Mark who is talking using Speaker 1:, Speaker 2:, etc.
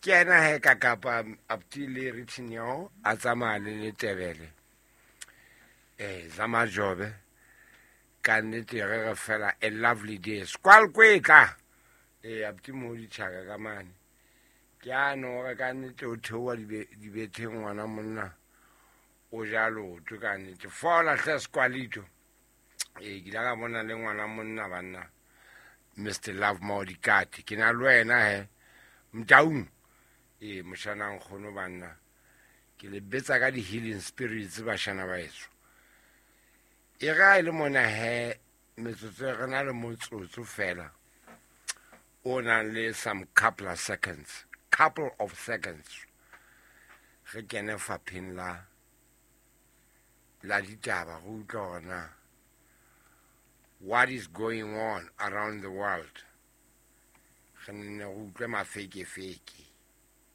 Speaker 1: Ke ena he ka kapa apti le Ritinyo a tsamaya le Letebele. Zamajobe ka nnete re re fela a lovely day. Squal kwetla. Apti mo ditšhaka ka mane. Ke ano re ka nnete o theoha dibetheng ngwana monna. O ja leoto ka nnete. Fola hle Squalito. Ke ile ka bona le ngwana monna banna. Mr. Love Maudikati. Ke na le wena he. Mtaung. Moshana nkgono banna. Ke le betsa ka di-healing spirits bashana ba heso. E ga e le mona he metsotso re na le motsotso fela o nang le some couple of seconds. Couple of seconds. Re kene fapheng la ditaba go utlwa hore na what is going on around the world. Re nne re utlwe mafekefeke.